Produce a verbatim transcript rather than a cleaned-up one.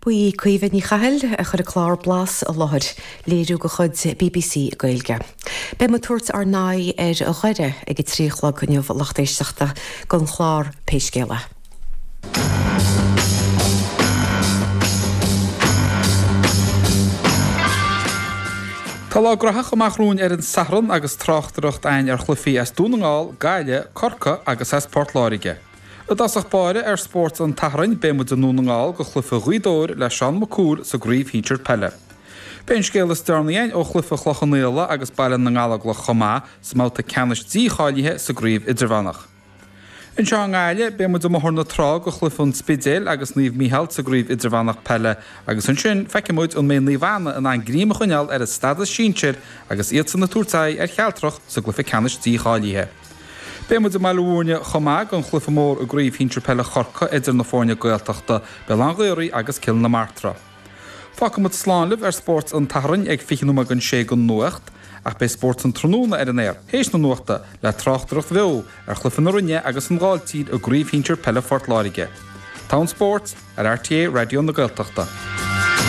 Ba í Caoimhe Ní Chathail a chuir an clár Blas i láthair, léiriú de chuid BBC Gaeilge. Beidh muid ag tabhairt ár n-aghaidh ar Dhoire ag a trí a chlog inniu a lucht éisteachta don chlár Pé Scéal É. Tá lá graitheach amach romhainn ar an Satharn agus tráchtaireacht againn ar chluichí as Dún na nGall, Gaillimh, Corcaigh agus as Port Láirge. I dtosach báire ar Spórt an tSathairn, beidh muid i nDún na nGall go chluiche Ghaoth Dobhair le Seán Mac Cumhaill sa gcraobh shinsir peile. Beidh an scéal is deireanaí againn ó chluiche Chloich Cheann Fhaola agus Baile na nGallóglach chomh maith sa mbabhta ceannais dícháilithe sa gcraobh idirmheánach. Anseo i nGaillimh, beidh muid i mBóthar na Trá go chluiche an Spidéil agus Naomh Mícheál sa gcraobh idirmheánach peile agus ansin feicfidh muid an mbeidh Naomh Anna in ann greim a choinneáil ar a stadas sinsir agus iadsan ag tabhairt aghaidh ar Chealtrach sa gcluiche ceannais dícháilithe. Beidh muid i mBaile Bhúirne chomh maith don chluiche mór i gCraobh Shinsir Peile Chorcaí idir na foirne Gaeltachta, Béal Átha an Ghaorthaidh agus Cill na Martra. Fágfaidh muid slán libh ar Spórt an tSathairn ag fiche nóiméad don sé don nuacht, ach beidh Spórt an Tráthnóna ar an aer théis na nuachta le tráchtaireacht bheo ar chluiche na Rinne agus an Ghailltír i gCraobh Shinsir Peile Phort Láirge. Togha an Spóirt ar RTÉ Raidió na Gaeltachta.